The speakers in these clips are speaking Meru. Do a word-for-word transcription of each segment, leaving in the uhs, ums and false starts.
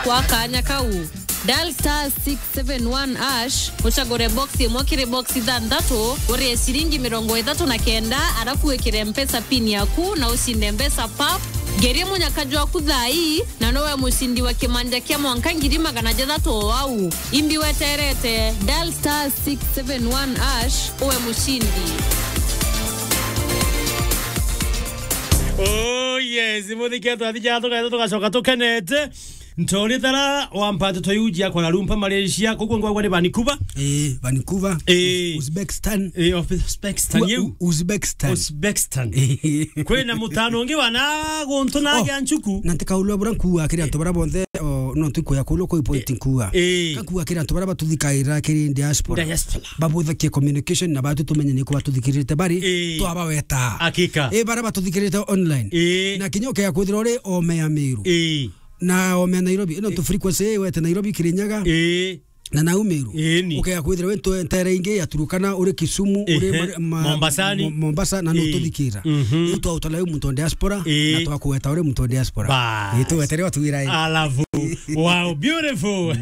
Kwa kaanya kau, dial star six seven one hash, ucagure box imwe kiri box ithanthatu, urie ciringi mirongo ithatu na kenda, arafu wikire Mpesa pin yaku na ucinde mbeca pap. Ngeria munyaka jwaku thaa ii, na nowe mucindi wa kimanja kia mwanka ngiri magana jathatu o au. Imbi weterete, dial star six seven one hash, uwe mucindi. Oh yes, muthiketwa athija tugacoka tukenete. Ntoritara wa mpato toyuji ya Kuala Lumpur, Malaysia, kuku ngwagwa ni Vancouver. Eh, Vancouver. Eh. Uzbekistan. Eh, Uzbekistan, Wa-, yeu. U-, Uzbekistan. Uzbekistan. Kwina mutano ungi wa na guntu na Oh, gia nchuku. Na ntikaulwa bura nkuwa kiri antu bara bonthe, o, no ntuku ya kulwa kwa point nkuwa. Eh. Kakuwa kiri antu bara batuthikaira kiri diaspora. Diaspora. Babuthakie communication na batu tumenye ni kwa tuthikirite bari, Eh. twabaweta. Hakika. Eh, bara batuthikirite online. Eh. Na kinya ukea kwithira uri ome ya Meru. Eh. Na ome ya Nairobi, ino tu frequency wete Nairobi, Kirinyaga. Ii. Na nau Meru. Ii ni. Ukea kwithira we ntu-, ntere ingi ya Turukana, uri Kisumu, uri Ehe. Mar-, ma-, Mombasani. Mo-, Mombasa, na Ii. nututhikira. Mhm. Riu twautana wi muntu wa diaspora, Ii. na twakuweta uri muntu wa diaspora. Bas. Ii, tuwetere watuwira ii. Alafu. Wow, beautiful.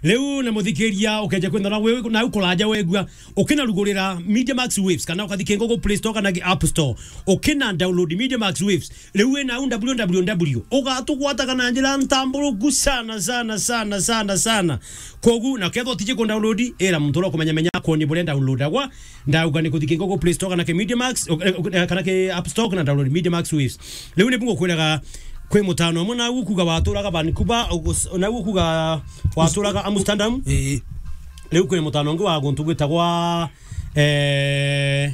Riu na muthikiria ukeja kwenda na we, na ukuraja wegua. Ukina rugurira Media Max Waves, kana ukathi kingo go Play Store kana ki App Store. Ukina download Media Max Waves. Riu wina au W W W, ugatugwataga na njira ntamburuku sana, sana, sana, sana, sana. Kogu, na kethwa utiji ku download, ira muntu uria ukumenya menya akwoni buria downloadagwa. Ndauga ni kuthi kingo go Play Store kana ki Media Max, o, eh, eh, kana ki App Store kana download Media Max Waves. Riu ni bungu kwiraga kwi mutano umwe nau kuga waturaga Vancouver, ugus-, nau kuga waturaga Amsterdam. Ii. Riu kwi mutano ungi wa guntu gwitagwa, eh,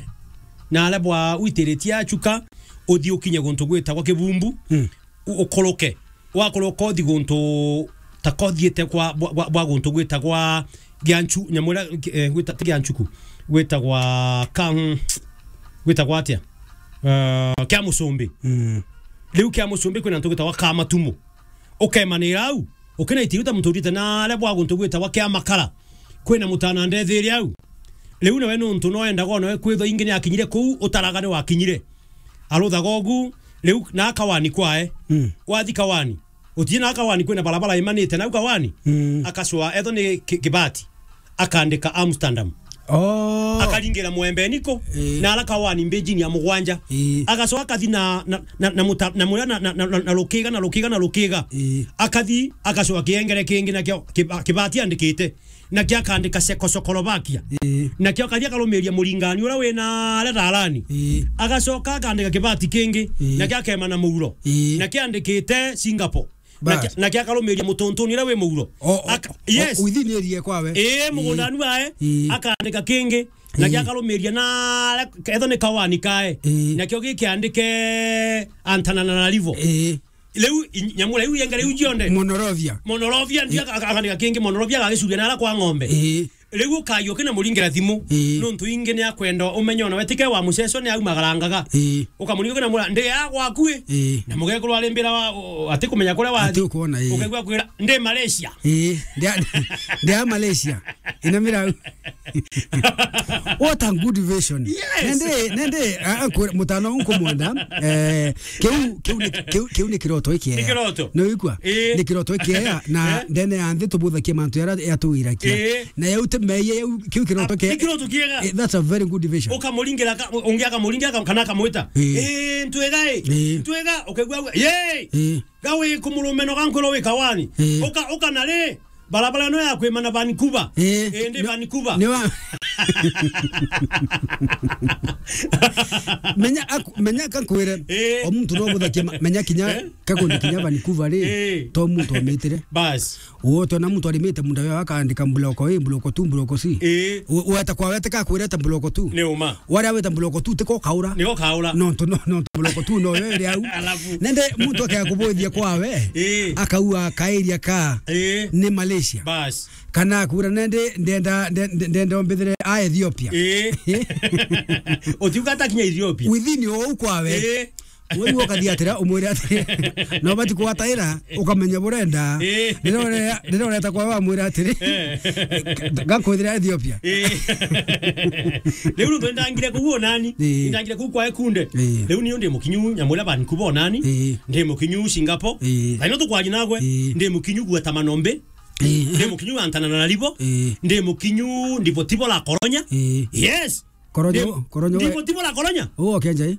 na aria bwa witiritie achuka, uthi ukinye guntu gwitagwa Kibumbu, Mm. u-, ukuruke. Wakuruka uthi guntu ta kothiite kwa, bwa, bwa, bwa guntu gwitagwa Gianchu-, nyamu iria, eh, gwita-, ti Gianchuku, gwitagwa ka-, gwitagwa atia? Eh, Kia Musumbi. Mm. Riu Kia Musumbi kwina antu gwitagwa Kamatumu. Ukemanira au, ukinaitiruta muntu urite na aria bwa guntu gwitagwa Kia Makara. Kwina mutana ndethiri au. Riu nawe nuntu no endaga ona we kwithwa ingi ni akinyire kuu, utaraga ni wakinyire. Aruthaga ugu, riu na Kawani kwae. Mm. Wathi Kawani. Utie na Kawani kwina barabara imanite nau Kawani. Mm. Akacwa etho ni ki-, kibati. Akandika Amsterdam. Oh. Akaringira Mwembeni ko, Ii. na ara Kawani mbejini ya mugwanja. Ii. Agacoka akathi na, na, na, na muta-, na muria na, na, na, na, na rukiga, na rukiga, na rukiga. Ii. Akathi, agacoka kiengere kingi nakio kiba-, kibati andikite. Nakio akandika Czechoslovakia. Ii. Nakio akathi akarumiria muringani uria wina aria Rarani. Ii. Agacoka akandika kibati kingi. Ii. Nakio akema na muuro. Ii. Nakio andikite Singapore. Bas. Nake, nake akarumiria mutuntuni uria wi muuro. O, o, Aka-, o, yes. Within area kwawe. Ii, mugundani wae, Ii. akandika kingi. Nake Ii. akarumiria na, etho ni Kawani kae. Ii. Nakio gikiandike Antananarivo. Ii. Riu, i-, nyamu riu yengere iu cionthe. Monrovia. Monrovia, ndio Ii. aka-, akandika kingi, Monrovia agagicuria na ara kwa ng'ombe. Ii. Riu ukagia ukina muringira thimu, Ii. nuntu ingi ni akwenda umenye ona we tike wa muceco ni aumagarangaga. Ii. Ukamuringa ukina mura, "Ndi ya gwaku ii?" Ii. Na mugekuru ari mbira wa, o, ati kumenya kuria wathi. Ati ukwona, ii. Ukaigua akwira, "Ndi Malaysia." Ii. Ndi a, ndi a Malaysia. Ina mirau. What a good vision. Yes. Nende, nende, a, a, kwe-, mutano unku mwenda, eh, kiu, kiu ni, kiu, kiu ni kiroto ikiega. Ni kiroto. Ni wigua? Ii. Ni kiroto ikiega, na Eh? ndene ya nthi tubuthakia mantu yara yatuwirakia. Ii. Na yau ti meeyia, yau, kiu kiroto Ah, ke-, ni kiroto kiega. Eh, that's a very good vision. Ukamuringira ka-, ungi akamuringira ka-, kana akamwita. Eh. "Eh, ntwega, eh. Eh. Ntwega," ukaigua, "Yee! Eh. Ga wi kumurumeno ga nkwirwo wi Kawani." Eh. Uka, uka na ri, barabara ino ya kwimana Vancouver. Eh. Eh, ndi Ni-, Vancouver. Ni wa-, menya aku-, menya kankwire, Eh. o muntu no guthakia ma-, menya kinya Eh. kakundi kinya Vancouver ri, Eh. to muntu omitire. Bas. Uotona muntu arimite munda wao akaandika block A, block two, block C. Ii. U-, weta kwa wete ka kwireta block two. Ni uma. Waria weta block two tiko kaura. Niko kaura. Nontu, no, nontu block two no yo iri au. Alafu. Nende muntu akea kubuthia kwawe. Ii. Akaua kairia ka Ii. ni Malaysia. Bas. Kana akwira nende ndenda, nde-, nde-, ndenda ombithire a Ethiopia. Ii. Utiuga atakinya Ethiopia. Within o u kwawe. Ii. Wewe ukathia atira, umwire atiri, na ubati kugwataira, ukamenya burenda. Eh. Riria ure-, riria ureta kwa we, wamwira atiri, Eh. "Gakwithira Ethiopia." Eh. Riu nontu ndangire kuu nani? Eh. Ndangire kuu kwa Ekunde. Eh. Riu niu ndi mukinyu, nyamwira bankubo nani? Eh. Ndi mukinyu Singapore. Eh. Thaino tukwaji nagwe, Eh. ndi mukinyu gweta manombe. Eh. Ndi mukinyu antana na ribo. Eh. Ndi mukinyu ndivo tivo la koronya. Eh. Yes. Koronyo, Ndi-, koronyo we. Ndivo tivo la koronya. Uo kenja, eh?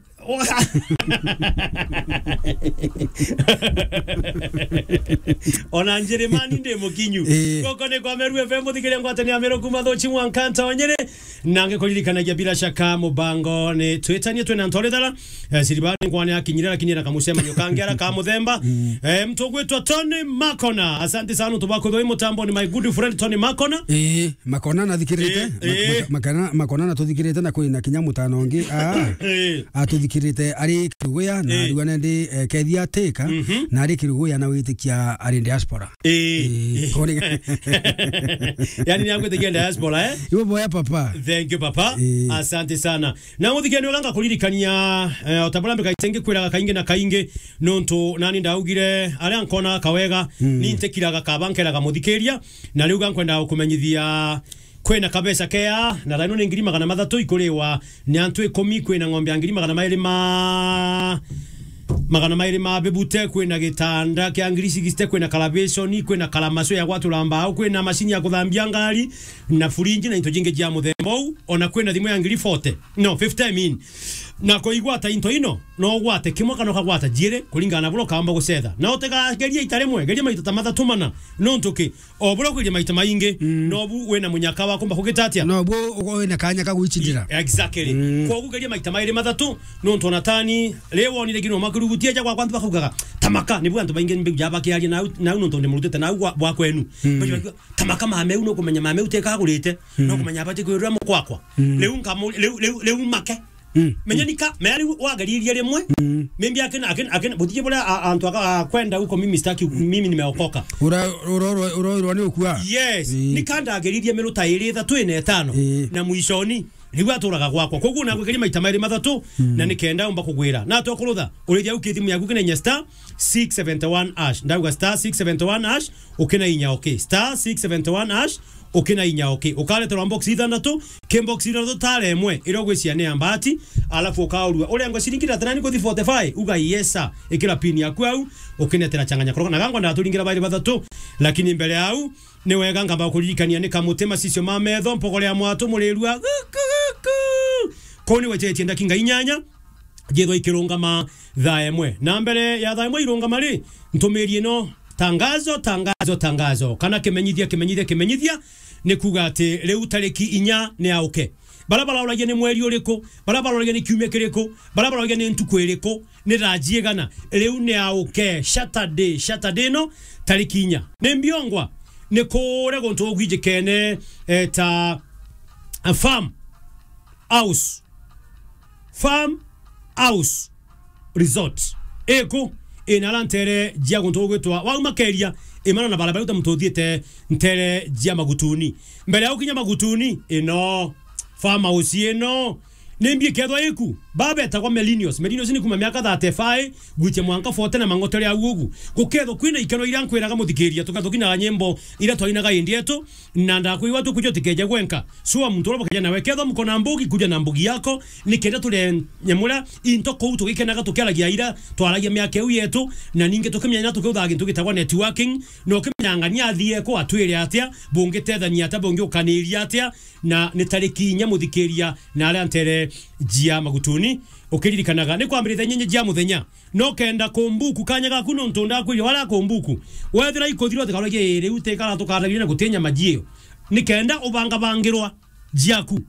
Ona Njeremani ndi mukinyu. Eh. Goko ni kwa Meru F M, muthikiria ngwatania Meru kuma Thuchi mwanka Ntonyere. Nange kuririkanagia bila shaka mubango ni twitanie twina ntori thara. Eh, Siribani ngwane akinyire, lakini ena kamucemanio kangi ara ka muthemba. Mm. Eh, mtu ugwitwa Tony Makona. Asante sana, tubakwithwa i mutambo ni my good friend Tony Makona. Eh. Makona nathikirite, Eh, ma-, eh. maka-, makana-, Makona natuthikirite na kwina kinya mutano ungi, ah, Eh. atuthikirite ari Kiruguya, na Eh. ariuga nendi, eh, kethia atika, Mhm. na ari Kiruguya na witikia ari diaspora. Eh. Eh, koni- Yani ni agwitikia diaspora, eh? Iwe boya papa. Thank you, papa. Eh. Asante sana. Na muthikirania uganga kuririkania, eh, o ta buria mbika icengi kwiraga kaingi na kaingi, nontu nani ndaugire, aria nkona kawega, Mm. ni ntikiraga kaba nkeraga muthikiria, na riu ga nkwenda gukumenyithia, kwina kabeca kea, na thaino ni ngiri magana mathatu ikuriwa ni antu ikumi, kwina ng'ombe ya ngiri magana mairi ma, magana mairi ma bebute, kwina gitanda kia ngiri sixty, kwina kalabeshoni, kwina kalamaco ya gwatura mbao, kwina macini ya kuthambia ngari, na furinji na into jingi jia muthemba uu, ona kwina thimu ya ngiri forty, no, fifty I mean. Na kuigwata into ino, no ugwate kimwe kana ukagwata jiiri, kuringana na buria ukaamba gucetha. Na utigagerie ita rimwe, geria maita ta mathatu mana. Nontu ki? O buria ugeria maita maingi, Mm. nobu wina munyaka wa kumba kugita atia? Nobu ugo wina kanya ka gwicindira. Exactly. Mm. Kwogu geria maita mairi mathatu, nontu ona tani, ri wonire nginya makirugutia ja gwakwa antu bakaugaga, "Tamaka," nibu antu baingi mbigu ja bakiaria nau, nau nontu ndi murutite nau gwa, gwa kwenu. Mm. Bakiuga, "Tamaka mameu, nukumenya mameu tekagurite, Mm. nukumenya abati kwirira mukwakwa." Mm. Riu nkamu-, riu, riu, riu make. Mm. Menya nika, menya riu wageririe rimwe, Mm. maybe akina, akina, akina, butiji buria a-, antu aka-, a kwenda huko mimi sitaki, mimi nimeokoka. Ura-, ura-, ura-, urairwa ni ukua? Yes. Ii. Nika ndageririe miruta iri ithatu ina itano. Ii. Na mwishoni, riu aturaga gwakwa. Koguo nagwigeria maita mairi mathatu, Mm. na nikenda umba kugwira. Na tokurutha, urithia uki thimu yaku kinenya star six seventy one hash. Ndauga star six seventy one hash, ukina inya okay. Star six seventy one hash, ukina inya okay. Ukareterwa box ithanthatu, ki box ithanthatu tara imwe, iria ugwiciria ni ya mbati, alafu ukaurua. Urengwe ciringi thirty nine kuthi forty five, uga yes sir, ikira pin yaku au, ukinetera changanya koroka. Na gangwa ndaturingira bairi bathatu, lakini mbere au, ni wega nkamba kuririkania ni kamuti macicio ma metho, mpogore ya mwatu murirua, guku, guku. Kuu ni wechetie ndakinga inyanya, jithwa ikirungama thaa imwe. Na mbere ya thaa imwe irungama ri, ntumiri ino, tangazo, tangazo, tangazo, kana kimenyithia, kimenyithia, kimenyithia, ni kuuga ati riu tariki inya ni auke. Bara barauragia ni mweri uriku, bara barauragia ni kiumia kiriku, bara barauragia ni ntuku iriku, ni thaa ciigana, riu ni auke. Saturday, Saturday ino, tariki inya. Ni mbiongwa, ni kuria guntu ugwijikene, eh, ta, a farm house. Farm House Resort. Iku, ina ara ntere jia guntu gugwitwa, wauma Keria, imana na barabara uta muntu uthiite ntere jia Magutuni. Mbere ya ukinya Magutuni, ino farm house ino, ni mbi ikethwa iku, baba etagwa Melinius. Melinius ni kuma miaka thirty-five gwichia mwanka forty na mang'otere au ugu. Gukethwa kwina ikeno iria nkwiraga muthikiria, tukethwa kinaga nyimbo iria twainaga indi yetu, na ndakwigua tukuja utikeje gwenka. Sua muntu uria bukeja nawe. Kethwa mukona mbugi, kuja na mbugi yako, nikenda turie nyamura into kuu tugikenaga tukiaragia ira twaragia miaka iu yetu, na ningi tukimenya na tukiuthaga gintu gitagwa networking, na ukimenya ng'ania athie ku atwire atia, bungitethania atia, bungiukaniria atia, na ni tariki inya muthikiria na aria ntere jia Magutuni. Ukiririkanaga, ni kwambiriria thaa inyanya jia muthenya. No kenda kumbuku kanya gaku nontu ndakwiria wara kumbuku. Wethira ikuthira utikaragie riu tikara tukaragie na gutinya majio. Ni kenda ubangabangirwa jiaku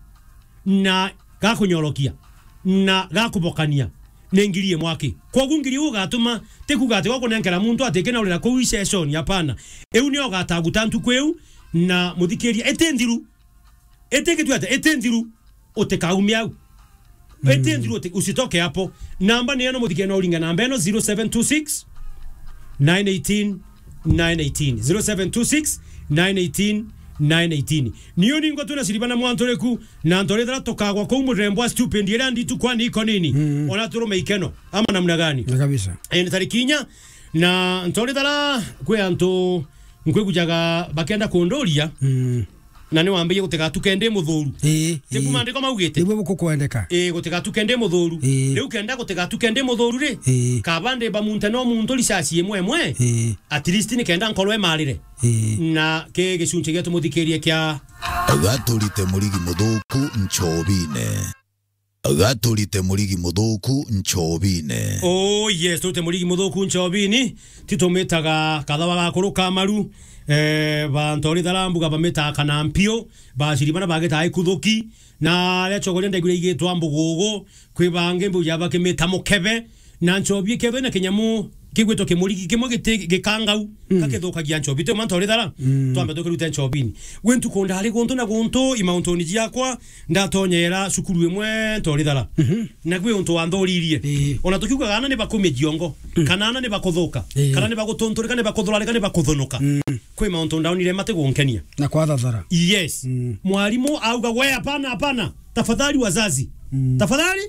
na gakunyorokia na gakubokania ni ngiri imwe aki. Kwogu ngiri iu ugatuma tikuga ati wakunenkera muntu atikinaurira kuu session, hapana. Iu nio ugataguta ntuku iu na muthikiria iti nthiru. Iti gitwete, iti nthiru, utikaume au. Iti nthiru, uti-, usitoke hapo. Namba ni eno muthike no uringa namba eno zero seven two six, nine eighteen, nine eighteen. Zero seven two six, nine eighteen, nine eighteen. Niyo ningo tuna siriba na mwantoriku, na ntorithara tukagwa kuu murembo wa stupid, iria nditu kwani iko nini? Mm. Ona turume ikeno, ama namna gani? Na kabisa. Eh, ni tariki inya, na ntorithara kwi antu nkwigujaga bakenda kunduria, Mm. na ni wambirie gutigatuke ndi muthuru. Ii, Ti ii. kuma maandiko maugite? Niguo gukukwendeka. Ii, gutigatuke ndi muthuru. Ii. Riu kenda gutigatuke ndi muthuru ri, Ii. kaba ndi ba muntu no muntu risasi imwe imwe, Ii. at least ni kenda nkorwe marire. Ii. Na ki gicunci gia tumuthikirie kia Gaturite murigi muthuku nchobine. Gaturite murigi muthuku nchobine. Oh yes, turite murigi muthuku nchobini. Titumitaga kathawa gakuru ka maru. Eh, bantu ri tharambuga bamitaga kana mpio. Baciri bana bagitaga ikuthuki. Na aria chogoria ndaigwire igitwa mbugugu. Kwi bangi mbuja bakimita mukebe. Na nchobi ikethwe na kinyamu kigwitwo kimurigi kimwe giti gikangau, Mm. gakithukagia nchobi. Ti mantu ri thara, Mm. twambe tukirute nchobini. Gwi ntuku ndari guntu na guntu, imauntuni jiakwa, ndatonyera cukuru imwe ntorithara. Mhm. Na gwi untu wanthoririe. Ii. Ona tukiugaga ana ni bakumia jiongo, Mm. kana ana ni bakuthuka, Ii. kana ni bagutunturika, ni bakuthurarika, ni bakuthunuka. Mm. Kwi mauntu ndaonire mati gunkenia. Na kwathathara. Yes. Mm. Mwarimu auga, "We, hapana, hapana. Tafadhali wazazi. Mm. Tafadhali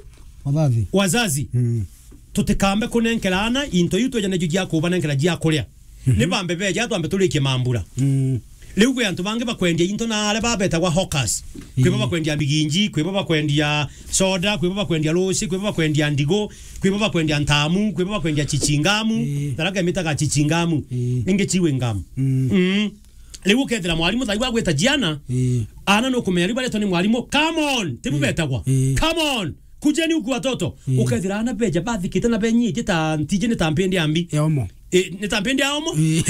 Wazazi. wazazi." Mm. Tutikambe kunenkera ana into iu tweja nacio jia kubanenkera jia kuria. Mhm. Ni bambe beja twambe turikie mambura. Mm. Riu kwi antu bangi bakwendia into na aria babetagwa hawkers. Kwi bo Ii. bakwendia miginji, kwi bo bakwendia soda, kwi bo bakwendia ruci, kwi bo bakwendia ndigo, kwi bo bakwendia ntamu, kwi bo bakwendia chichingamu, Ii. tharaga mitaga chichingamu. Ii. Ingi chiwe ngamu. Mm. Mm. Riu ukethira mwarimu thaiwa agwita jiana, Ii. ana nukumenya riu baretwa ni mwarimu, "Come on!" Tibu Ii. betagwa. Ii. "Come on! Kujeni huku watoto." Ii. Ukethira ana beja bathikite na benyitie ta ntiji ni ta mpindi ya mbi. Ya omo. Eh, ni ta mpindi ya omo. Ii.